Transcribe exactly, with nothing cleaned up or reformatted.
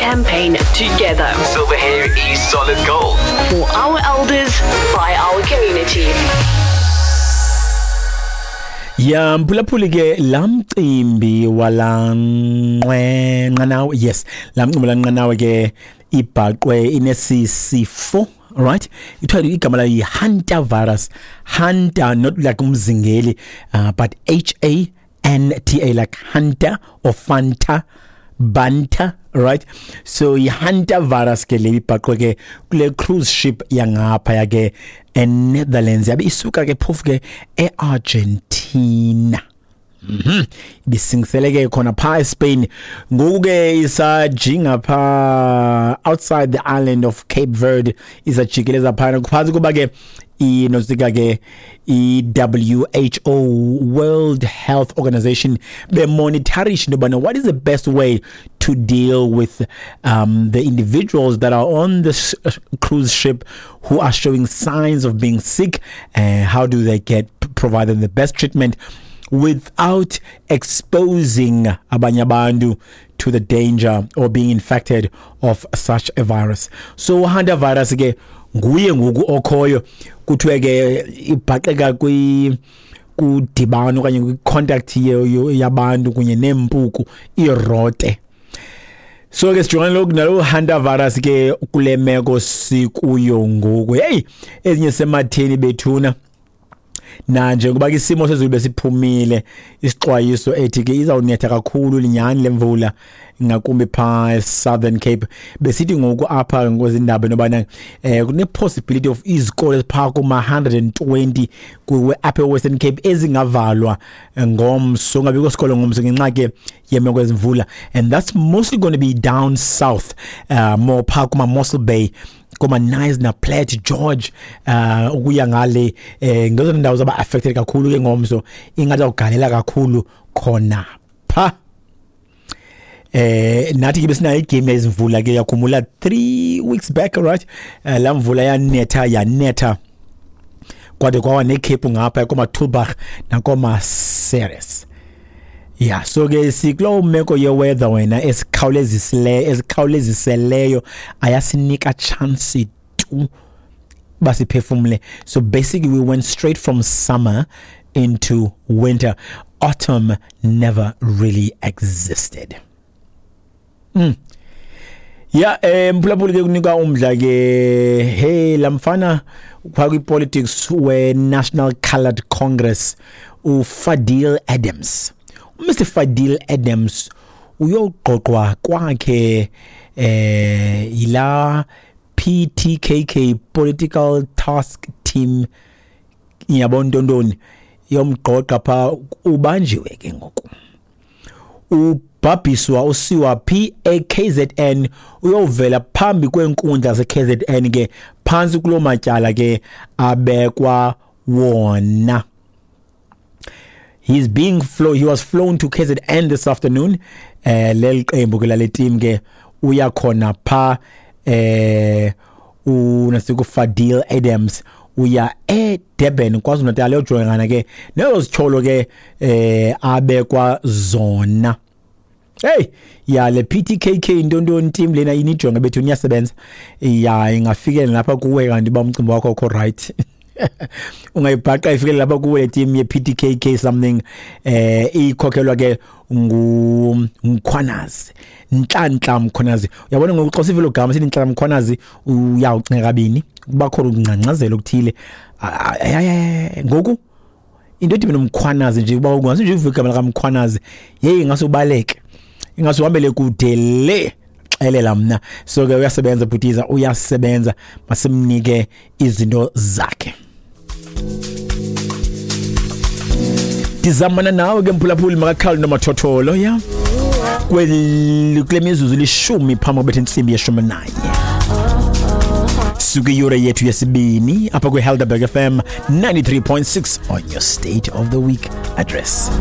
campaign together. Silver hair is solid gold. For our elders, by our community. Ya mphulaphuli ke lamcimbi walanqwenqanawe, yes, lamcimbi lanqanawe ke ibhaqwe inesisifo, right? Ithiwa igama layo yi-Hunter virus. Hunter, not like umzingeli, uh, but H A N T A, like Hunter or Fanta, Banta, right? So yi-Hunter virus ke le ibhaqwe ke kule cruise ship yangaphaya ke eNetherlands, yabe isuka ke phofu ke eArgentina. Mhm. Ibisingisele ke khona pha eSpain. Ngoku ke isajinga pha outside the island of Cape Verde, isajikeleza phana phantsi kuba ke inosika ke i-W H O, World Health Organization, bemonitorisha into yobana what is the best way to deal with um, the individuals that are on this cruise ship who are showing signs of being sick, and how do they get provided the best treatment without exposing abanye abantu to the danger or being infected of such a virus. So Hunter virus ke nguye ngoku okhoyo, kuthiwe ke ibhaqeka kwi kudibano okanye kwi-contact yabantu kunye neempuku irote. So ke sijongane lokhu nalo Hunter virus ke kule meko sikuyo ngoku. Hey, ezinye sematheni bethuna. Na njengoba ke isimo sezulu besiphumile isixwayiso ethi ke izawunetha kakhulu linyani lemvula ngakumbi pha Southern Cape, besithi ngoku apha ngokwezindaba nobana eh kune possibility of izikolo ezipha kuma one hundred twenty kuwe apha eWestern Cape ezingavalwa ngomso, ngabikho sikolo ngomso ngenxa ke yemeko ezimvula, and that's mostly going to be down south, uh, more pha kuma Mossel Bay, koma Knysna, Plett, George, uh ukuya ngale eh ngezo ndawo zaba affected kakhulu ke ngomso, ingathi ugalela kakhulu khona pha. Eh nathi ke besinayo igame yezimvula ke yakhumula three weeks back, right? Uh, la mvula yanetha yanetha kwade kwawa nekhephu ngapha koma Tulbagh nakoma Ceres. Yeah, so ke sikulo meko ye weather wena esikhawulezisileyo esikhawuleziseleyo ayasinika chance tu basiphefumle. So basically we went straight from summer into winter. Autumn never really existed. Mm. Yeah, eh mphulaphuli ke kunika umdla ke, hey lamfana kwa kwi politics we National Coloured Congress uFadil Adams. Mister Fadil Adams uyoqoqwa kwakhe eh ila P T K K Political Task Team yabontontoni yomgqoqa pha, ubanjiwe ke ngoku. Ubhabhiswa usiwa P A K Z N, uyovela phambi kwenkundla ze K Z N ke phansi kulo matyala ke abekwa wona. He's being flown, he was flown to K Z N this afternoon. Eh leli qembu ke lale team ke uya khona pha eh unasiku Fadil Adams uya eDurban KwaZulu-Natal uyojongana ke nezo zityholo ke eh abekwa zona. Hey, ya le P T K K intontoni team lena inijonga bethu niyasebenza. Ya ingafikela lapha kuwe kanti ba umcimbi wakho ukho right. Ungayibhaqa ifikele lapha kuwe le team ye P T K K something eh ikhokhelwa ke ngu Mkhwanazi, Nhlanhla Mkhwanazi. Uyabona ngoku xa sivelo gama sithi Nhlanhla Mkhwanazi uyawucinga kabini kuba khona ukungcangcazela okuthile. Ngoku into ethi mina Mkhwanazi nje kuba ungase nje uvuke igama likaMkhwanazi, hey ngase ubaleke, ingase uhambele kude le xelela mna. So ke uyasebenza bhutiza, uyasebenza, masimnike izinto zakhe. Ndizamana nawe ke mphulaphuli makakhali nomathotholo ya kule mizuzu lishumi phambi kobetha intsimbi yeshumi nanye. Suke iyure yethu yesibini apha kwi-Helderberg F M ninety-three point six on your State of the Week address.